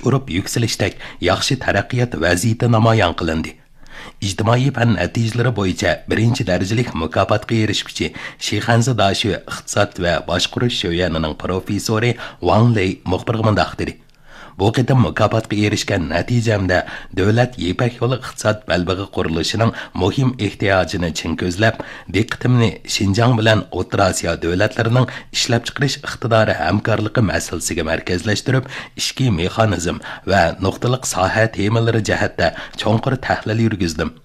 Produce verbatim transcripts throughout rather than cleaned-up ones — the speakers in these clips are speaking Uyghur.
ئۇرۇپ يۈكسىلىشتەك ياخشى تەرەققىيات ۋەزىيىتى نامايان قىلىندى. ئىجتىمائىي پەن نەتىجىلىرى بويىچە بىرىنچى دەرىجىلىك مۇكاپاتقا ئېرىشكۈچى شىخەنزە داشۆ ئىقتىساد ۋە باشقۇرۇش شۆيەنىنىڭ پروفېسسورى ۋاڭ لېي مۇخبىرغا مۇنداق دېدى: بۇ قېتىم مۇكاپاتقا ئېرىشكەن نەتىجەمدە دۆلەت يىپەك يولى ئىقتىساد بەلبېغى قۇرۇلۇشىنىڭ مۇھىم ئېھتىياجىنى چىڭ كۆزلەپ، دىققىتىمنى شىنجاڭ بىلەن ئوتتۇرا ئاسىيا دۆلەتلىرىنىڭ ئىشلەپچىقىرىش ئىقتىدارى ھەمكارلىقى مەسىلىسىگە مەركەزلەشتۈرۈپ، ئىچكى مېخانىزم ۋە نۇقتىلىق ساھە تېمىلىرى جەھەتتە چوڭقۇر تەھلىل يۈرگۈزدۈم.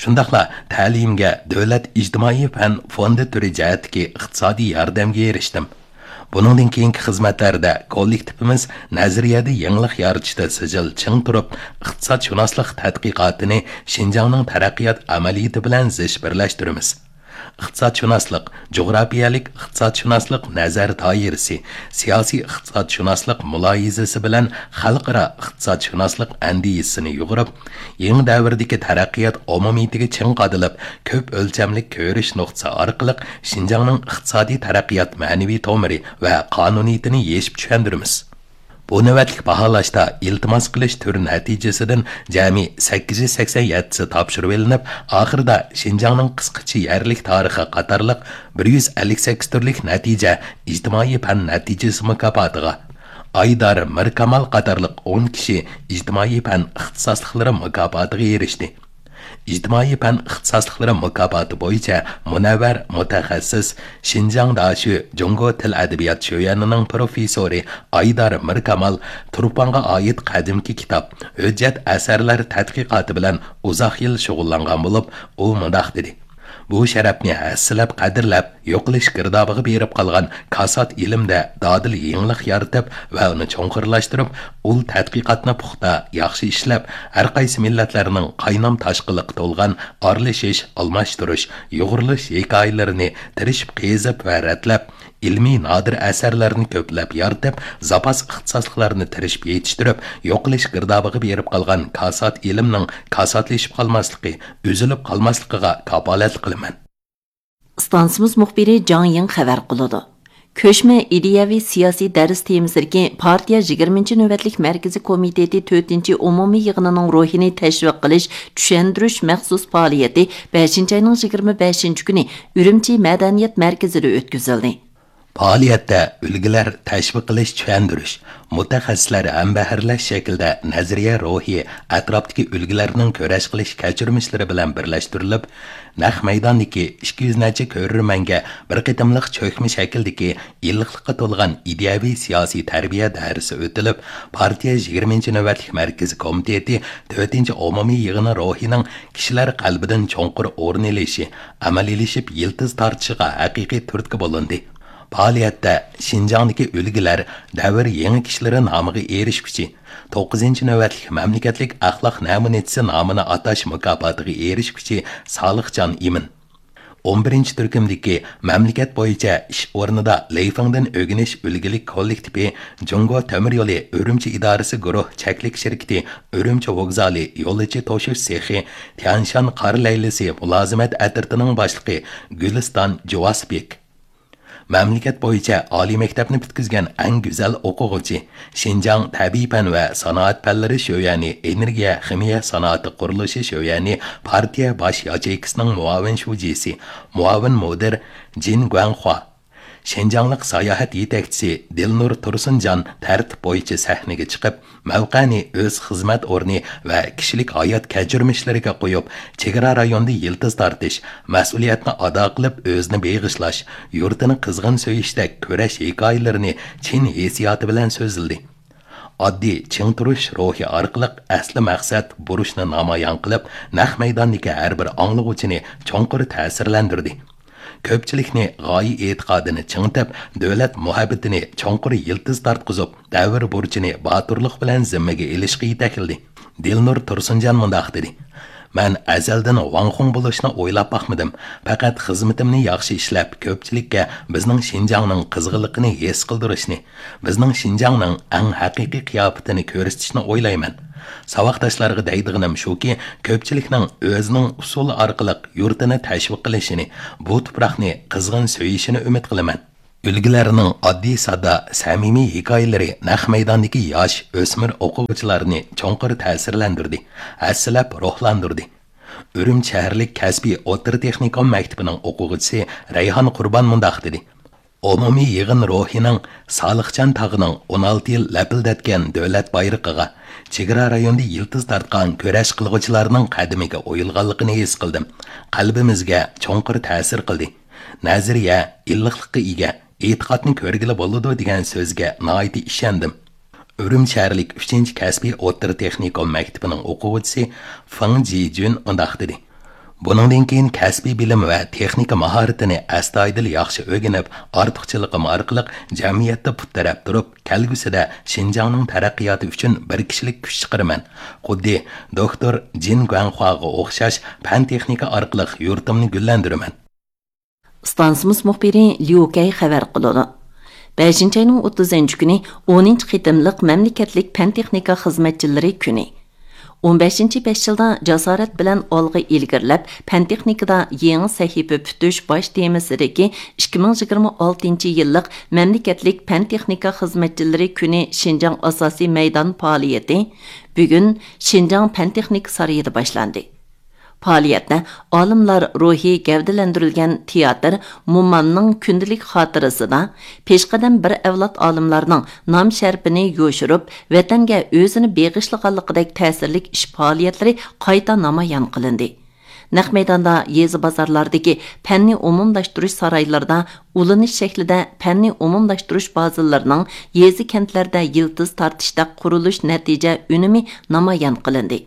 شۇنداقلا تەلىيىمگە دۆلەت ئىجتىمائىي پەن فوندى تۈرى جەھەتتىكى ئىقتىسادىي ياردەمگە ئېرىشتىم. بۇنىڭدىن كېيىنكى خىزمەتلەردە كوللېكتىپىمىز نەزەرىيەدە يېڭىلىق يارىتىشتا سىجىل چىڭ تۇرۇپ، ئىقتىسادشۇناسلىق تەتقىقاتىنى شىنجاڭنىڭ تەرەققىيات ئەمەلىيىتى بىلەن زىچ بىرلەشتۈرىمىز. ئىقتىسادشۇناسلىق، جۇغراپىيەلىك ئىقتىسادشۇناسلىق نەزەر دائىرىسى، سىياسىي ئىقتىسادشۇناسلىق مۇلاھىزىسى بىلەن خەلقئارا ئىقتىسادشۇناسلىق ئەندىزىسىنى يۇغۇرۇپ، يېڭى دەۋردىكى تەرەققىيات ئومۇمىيىتىگە چىڭ قادىلىپ، كۆپ ئۆلچەملىك كۆرۈش نۇقتىسى ئارقىلىق شىنجاڭنىڭ ئىقتىسادىي تەرەققىيات مەنىۋى تومۇرى ۋە قانۇنىيىتىنى يېشىپ چۈشەندۈرىمىز. بۇ نۆۋەتلىك باھالاشتا ئىلتىماس قىلىش تۈر نەتىجىسىدىن جەمئىي سەككىز يۈز سەكسەن يەتتىسى تاپشۇرۇۋېلىنىپ، ئاخىرىدا شىنجاڭنىڭ قىسقىچە يەرلىك تارىخى قاتارلىق بىر يۈز ئەللىك سەككىز تۈرلۈك نەتىجە ئىجتىمائىي پەن نەتىجىسى مۇكاپاتىغا، ئايدار مىركامال قاتارلىق ئون كىشى ئىجتىمائىي پەن ئىختىساسلىقلىرى مۇكاپاتىغا ئېرىشتى. ئىجتىمائىي پەن ئىختىساسلىقلىرى مۇكاپاتى بويىچە مۇنەۋۋەر مۇتەخەسسىس، شىنجاڭ داشۆ جۇڭگو تىل ئەدەبىيات شۆيەنىنىڭ پروفېسسورى ئايدار مىركامال تۇرپانغا ئائىت قەدىمكى كىتاب، ھۆججەت ئەسەرلەر تەتقىقاتى بىلەن ئۇزاق يىل شۇغۇللانغان بولۇپ، ئۇ مۇنداق دېدى: بۇ شەرەپنى ھەسسىلەپ قەدىرلەپ، يوقىلىش گىردابىغا بېرىپ قالغان كاسات ئىلىمدە دادىل يېڭىلىق يارىتىپ ۋە ئۇنى چوڭقۇرلاشتۇرۇپ، ئۇل تەتقىقاتنى پۇختا، ياخشى ئىشلەپ، ھەر قايسى مىللەتلەرنىڭ قاينام تاشقىنلىققا تولغان ئارىلىشىش، ئالماشتۇرۇش، يۇغۇرۇلۇش ھېكايىلىرىنى تىرىشىپ قېزىپ ۋە رەتلەپ، ئىلمىي نادىر ئەسەرلەرنى كۆپلەپ يارىتىپ، زاپاس ئىختىساسلىقلارنى تىرىشىپ يېتىشتۈرۈپ، يوقىلىش گىردابىغا بېرىپ قالغان كاسات ئىلىمنىڭ كاساتلىشىپ قالماسلىقى، ئۈزۈلۈپ قالماسلىقىغا كاپالەتلىك قىلىمەن. ئىستانسىمىز مۇخبىرى جاڭ يىڭ خەۋەر قىلىدۇ. كۆچمە ئىدىيەۋى سىياسىي دەرس تېمىسىدىكى پارتىيە يىگىرمىنچى نۆۋەتلىك مەركىزىي كومىتېتى تۆتىنچى ئومۇمىي يىغىنىنىڭ روھىنى تەشۋىق قىلىش، چۈشەندۈرۈش مەخسۇس پائالىيىتى بەشىنچى ئاينىڭ يىگىرمە بەشىنچى كۈنى ئۈرۈمچى مەدەنىيەت مەركىزىدە ئۆتكۈزۈلدى. پائالىيەتتە ئۈلگىلەر تەشۋىق قىلىش، چۈشەندۈرۈش، مۇتەخەسسىسلەر ھەمبەھىرلەش شەكلىدە نەزەرىيە روھى، ئەتراپتىكى ئۈلگىلەرنىڭ كۈرەش قىلىش كەچۈرمىشلىرى بىلەن بىرلەشتۈرۈلۈپ، نەق مەيداندىكى ئىككى يۈز نەچچە كۆرۈرمەنگە بىر قېتىملىق چۆكمە شەكىلدىكى ئىللىقلىققا تولغان ئىدىيەۋى سىياسىي تەربىيە دەرسى ئۆتۈلۈپ، پارتىيە يىگىرمىنچى نۆۋەتلىك مەركىزىي كومىتېتى تۆتىنچى ئومۇمىي يىغىنى روھىنىڭ كىشىلەر قەلبىدىن چوڭقۇر ئورۇن ئېلىشى، ئەمەلىيلىشىپ يىلتىز تارتىشىغا ھەقىقىي تۈرتكە بولۇندى. پائالىيەتتە شىنجاڭدىكى ئۈلگىلەر دەۋر يېڭىكىشلىرى نامىغا ئېرىشكۈچى، توققۇزىنچى نۆۋەتلىك مەملىكەتلىك ئەخلاق نەمۇنىچىسى نامىنى ئاتاش مۇكاپاتىغا ئېرىشكۈچى سالىھجان ئىمىن، ئون بىرىنچى تۈركۈمدىكى مەملىكەت بويىچە ئىش ئورنىدا لېيفېڭدىن ئۆگىنىش ئۈلگىلىك كوللېكتىپى جۇڭگو تۆمۈر يولى ئۈرۈمچى ئىدارىسى گۇرۇھ چەكلىك شىركىتى ئۈرۈمچى ۋوگزالى يولۇچى توشۇش سېخى، تيەنشان قار لەيلىسى مۇلازىمەت ئەترىتىنىڭ باشلىقى گۈلىستان جۇۋاسبېك. مەملىكەت بويىچە ئالىي مەكتەپنى پۈتكۈزگەن ئەڭ گۈزەل ئوقۇغۇچى، شىنجاڭ تەبىئىي پەن ۋە سانائەت پەنلىرى شۆيەنى ئېنېرگىيە خىمىيە سانائىتى قۇرۇلۇشى شۆيەنى پارتىيە باش ياچېيكىسىنىڭ مۇئاۋىن شۇجىسى، مۇئاۋىن مۇدىر جىن گۇەنخۇا، شىنجاڭلىق ساياھەت يېتەكچىسى دىلنۇر تۇرسۇنجان تەرتىپ بويىچە سەھنىگە چىقىپ، مەۋقەنى ئۆز خىزمەت ئورنى ۋە كىشىلىك ھايات كەچۈرمىشلىرىگە قويۇپ، چېگرا رايونىدا يىلتىز تارتىش، مەسئۇلىيەتنى ئادا قىلىپ ئۆزىنى بېغىشلاش، يۇرتىنى قىزغىن سۆيۈشتەك كۈرەش ھېكايىلىرىنى چىن ھېسسىياتى بىلەن سۆزلىدى. ئاددىي چىڭ تۇرۇش روھى ئارقىلىق ئەسلى مەقسەت، بۇرچنى نامايان قىلىپ، نەق مەيداندىكى ھەر بىر ئاڭلىغۇچىنى چوڭقۇر تەسىرلەندۈردى. كۆپچىلىكنى غايە ئېتىقادىنى چىڭىتىپ، دۆلەت مۇھەببىتىنى چوڭقۇر يىلتىز تارتقۇزۇپ، دەۋر بۇرچىنى باتۇرلۇق بىلەن زىممىگە ئېلىشقا يېتەكلىدى. دىلنۇر تۇرسۇنجان مۇنداق دېدى: مەن ئەزەلدىن ۋاڭخۇڭ بولۇشنى ئويلاپ باقمىدىم. پەقەت خىزمىتىمنى ياخشى ئىشلەپ، كۆپچىلىككە بىزنىڭ شىنجاڭنىڭ قىزغىنلىقىنى ھېس قىلدۇرۇشنى، بىزنىڭ شىنجاڭنىڭ ئەڭ ھەقىقىي قىياپىتىنى كۆرسىتىشنى ئويلايمەن. ساۋاقداشلارغا دەيدىغىنىم شۇكى، كۆپچىلىكنىڭ ئۆزىنىڭ ئۇسۇلى ئارقىلىق يۇرتىنى تەشۋىق قىلىشىنى، بۇ تۇپراقنى قىزغىن سۆيۈشىنى ئۈمىد قىلىمەن. ئۈلگىلەرنىڭ ئاددىي-ساددا، سەمىمىي ھېكايىلىرى نەق مەيداندىكى ياش، ئۆسمۈر ئوقۇغۇچىلارنى چوڭقۇر تەسىرلەندۈردى، ھەسسىلەپ روھلاندۇردى. ئۈرۈمچى شەھەرلىك كەسپىي ئوتتۇرا تېخنىكوم مەكتىپىنىڭ ئوقۇغۇچىسى رەيھان قۇربان مۇنداق دېدى: ئومۇمىي يىغىن روھىنىڭ سالىخجان تاغىنىڭ ئون ئالتە يىل لەپىلدەتكەن دۆلەت بايرىقىغا، چېگرا رايونىدا يىلتىز تارتقان كۈرەش قىلغۇچىلارنىڭ قەدىمىگە ئويۇلغانلىقىنى ھېس قىلدىم. قەلبىمىزگە چوڭقۇر تەسىر قىلدى. نەزەرىيە، ئىللىقلىققا ئىگە، ئېتىقادنى كۆرگىلى بولىدۇ دېگەن سۆزگە ناھايىتى ئىشەندىم. ئۈرۈمچى شەھەرلىك ئۈچىنچى كەسپىي ئوتتۇرا تېخنىكوم مەكتىپىنىڭ ئوقۇغۇچىسى فېڭ جىجۈن مۇنداق دېدى: بۇنىڭدىن كېيىن كەسپىي بىلىم ۋە تېخنىكا ماھارىتىنى ئەستايىدىل ياخشى ئۆگىنىپ، ئارتۇقچىلىقىم ئارقىلىق جەمئىيەتتە پۇت تىرەپ تۇرۇپ، كەلگۈسىدە شىنجاڭنىڭ تەرەققىياتى ئۈچۈن بىر كىشىلىك كۈچ چىقىرىمەن. خۇددى دوكتور جىن گۇەنخۇاغا ئوخشاش پەن-تېخنىكا ئارقىلىق يۇرتۇمنى گۈللەندۈرىمەن. ئىستانسىمىز مۇخبىرى ليۇ كەي خەۋەر قىلىدۇ. بەشىنچى ئاينىڭ ئوتتۇزىنچى كۈنى ئونىنچى قېتىملىق مەملىكەتلىك پەن-تېخنىكا خىزمەتچىلىرى كۈنى. ئون بەشىنچى بەش يىلدا جاسارەت بىلەن ئالغا ئىلگىرىلەپ، پەن-تېخنىكىدا يېڭى سەھىپە پۈتۈش باش تېمىسىدىكى ئىككى مىڭ يىگىرمە ئالتىنچى يىللىق مەملىكەتلىك پەن-تېخنىكا خىزمەتچىلىرى كۈنى شىنجاڭ ئاساسىي مەيدان پائالىيىتى بۈگۈن شىنجاڭ پەن-تېخنىكا سارىيىدا باشلاندى. پائالىيەتتە ئالىملار روھى گەۋدىلەندۈرۈلگەن تىياتىر مومامنىڭ كۈندىلىك خاتىرىسىدا پېشقەدەم بىر ئەۋلاد ئالىملارنىڭ نام-شەرىپىنى يوشۇرۇپ، ۋەتەنگە ئۆزىنى بېغىشلىغانلىقىدەك تەسىرلىك ئىش پائالىيەتلىرى قايتا نامايان قىلىندى. نەق مەيداندا يېزا بازارلاردىكى پەننى ئومۇملاشتۇرۇش سارايلىرىدا ئۇلىنىش شەكلىدە پەننى ئومۇملاشتۇرۇش بازىلىرىنىڭ يېزا كەنتلەردە يىلتىز تارتىشتەك قۇرۇلۇش نەتىجە ئۈنۈمى نامايان قىلىندى.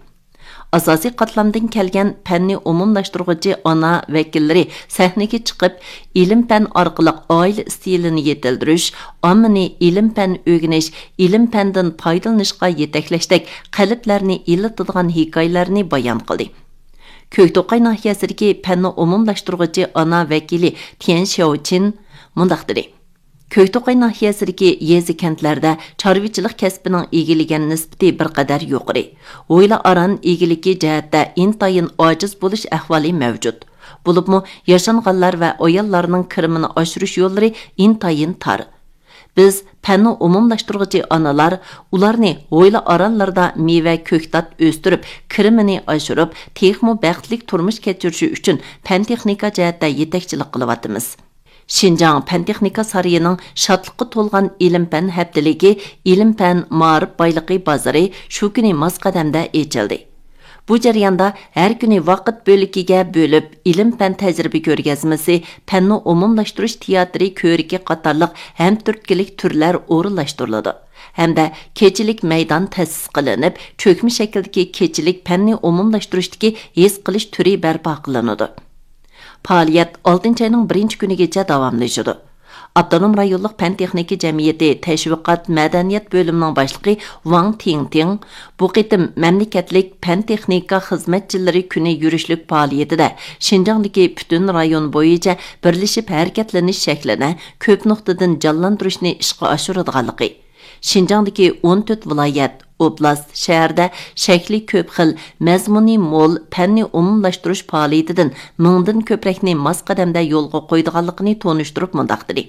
ئاساسىي قاتلامدىن كەلگەن پەننى ئومۇملاشتۇرغۇچى ئانا ۋەكىللىرى سەھنىگە چىقىپ، ئىلىم-پەن ئارقىلىق ئائىلە ئىستىلىنى يېتىلدۈرۈش، ئاممىنى ئىلىم-پەن ئۆگىنىش، ئىلىم-پەندىن پايدىلىنىشقا يېتەكلەشتەك قەلبلەرنى ئىللىتىدىغان ھېكايىلەرنى بايان قىلدى. كۆكتوقاي ناھىيەسىدىكى پەننى ئومۇملاشتۇرغۇچى ئانا ۋەكىلى تيەن شياۋچىن مۇنداق دېدى: كۆكتوقاي ناھىيەسىدىكى يېزا-كەنتلەردە چارۋىچىلىق كەسپىنىڭ ئىگىلىگەن نىسبىتى بىر قەدەر يۇقىرى، ھويلا-ئاران ئىگىلىكى جەھەتتە ئىنتايىن ئاجىز بولۇش ئەھۋالى مەۋجۇت. بولۇپمۇ ياشانغانلار ۋە ئاياللارنىڭ كىرىمىنى ئاشۇرۇش يوللىرى ئىنتايىن تار. بىز پەننى ئومۇملاشتۇرغۇچى ئانىلار ئۇلارنى ھويلا-ئارانلىرىدا مېۋە، كۆكتات ئۆستۈرۈپ، كىرىمىنى ئاشۇرۇپ، تېخىمۇ بەختلىك تۇرمۇش كەچۈرۈشى ئۈچۈن پەن-تېخنىكا جەھەتتە يېتەكچىلىك قىلىۋاتىمىز. شىنجاڭ پەن-تېخنىكا سارىيىنىڭ شادلىققا تولغان ئىلىم-پەن ھەپتىلىكى، ئىلىم-پەن مائارىپ بايلىقى بازىرى شۇ كۈنى ماس قەدەمدە ئېچىلدى. بۇ جەرياندا ھەر كۈنى ۋاقىت بۆلىكىگە بۆلۈپ، ئىلىم-پەن تەجرىبە كۆرگەزمىسى، پەننى ئومۇملاشتۇرۇش تىياتىرى كۆرىكى قاتارلىق ھەمتۈرتكىلىك تۈرلەر ئورۇنلاشتۇرۇلىدۇ ھەمدە كېچىلىك مەيدان تەسىس قىلىنىپ، چۆكمە شەكىلدىكى كېچىلىك پەننى ئومۇملاشتۇرۇشتىكى ھېس قىلىش تۈرى بەرپا قىلىنىدۇ. پائالىيەت ئالتىنچى ئاينىڭ بىرىنچى كۈنىگىچە داۋاملىشىدۇ. ئاپتونوم رايونلۇق پەن-تېخنىكا جەمئىيىتى تەشۋىقات مەدەنىيەت بۆلۈمىنىڭ باشلىقى ۋاڭ تىڭتىڭ بۇ قېتىم مەملىكەتلىك پەن-تېخنىكا خىزمەتچىلىرى كۈنى يۈرۈشلۈك پائالىيىتىدە شىنجاڭدىكى پۈتۈن رايون بويىچە بىرلىشىپ ھەرىكەتلىنىش شەكلىنى كۆپ نۇقتىدىن جانلاندۇرۇشنى ئىشقا ئاشۇرىدىغانلىقى، شىنجاڭدىكى ئون تۆت ۋىلايەت، ئوبلاست، شەھەردە شەكلى كۆپ خىل، مەزمۇنى مول پەننى ئومۇملاشتۇرۇش پائالىيىتىدىن مىڭدىن كۆپرەكنى ماس قەدەمدە يولغا قويىدىغانلىقىنى تونۇشتۇرۇپ مۇنداق دېدى: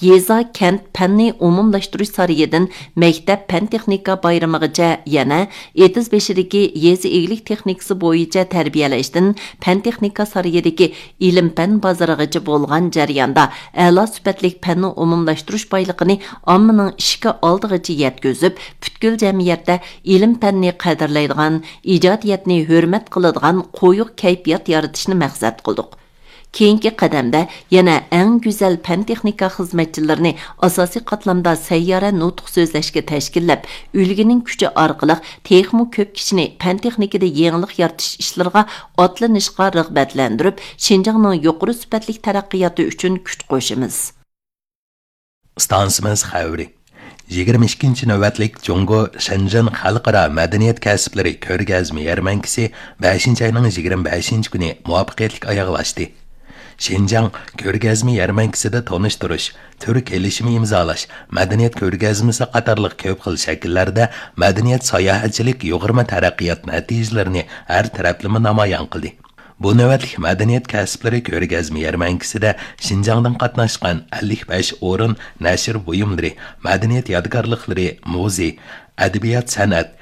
يېزا، كەنت پەننى ئومۇملاشتۇرۇش سارىيىدىن مەكتەپ پەن-تېخنىكا بايرىمىغىچە، يەنە ئېتىز بېشىدىكى يېزا ئىگىلىك تېخنىكىسى بويىچە تەربىيەلەشتىن پەن-تېخنىكا سارىيىدىكى ئىلىم-پەن بازىرىغىچە بولغان جەرياندا ئەلا سۈپەتلىك پەننى ئومۇملاشتۇرۇش بايلىقىنى ئاممىنىڭ ئىشىكى ئالدىغىچە يەتكۈزۈپ، پۈتكۈل جەمئىيەتتە ئىلىم-پەننى قەدىرلەيدىغان، ئىجادىيەتنى ھۆرمەت قىلىدىغان قويۇق كەيپىيات يارىتىشنى مەقسەت قىلدۇق. كېيىنكى قەدەمدە يەنە ئەڭ گۈزەل پەن-تېخنىكا خىزمەتچىلىرىنى ئاساسىي قاتلامدا سەييارە نۇتۇق سۆزلەشكە تەشكىللەپ، ئۈلگىنىڭ كۈچى ئارقىلىق تېخىمۇ كۆپ كىشىنى پەن-تېخنىكىدا يېڭىلىق يارىتىش ئىشلىرىغا ئاتلىنىشقا رىغبەتلەندۈرۈپ، شىنجاڭنىڭ يۇقىرى سۈپەتلىك تەرەققىياتى ئۈچۈن كۈچ قوشىمىز. ئىستانسىمىز خەۋىرى. يىگىرمە ئىككىنچى نۆۋەتلىك جۇڭگو شېنجېن خەلقئارا مەدەنىيەت كەسىپلىرى كۆرگەزمە يەرمەنكىسى بەشىنچى ئاينىڭ يىگىرمە بەشىنچى كۈنى مۇۋەپپەقىيەتلىك ئاياغلاشتى. شىنجاڭ كۆرگەزمە يەرمەنكىسىدە تونۇشتۇرۇش، تۈر كېلىشىمى ئىمزالاش، مەدەنىيەت كۆرگەزمىسى قاتارلىق كۆپ خىل شەكىللەردە مەدەنىيەت ساياھەتچىلىك يۇغۇرما تەرەققىيات نەتىجىلىرىنى ھەر تەرەپلىمە نامايان قىلدى. بۇ نۆۋەتلىك مەدەنىيەت كەسىپلىرى كۆرگەزمە يەرمەنكىسىدە شىنجاڭدىن قاتناشقان ئەللىك بەش ئورۇن نەشر بۇيۇملىرى، مەدەنىيەت يادىكارلىقلىرى، مۇزېي، ئەدەبىيات، سەنئەت،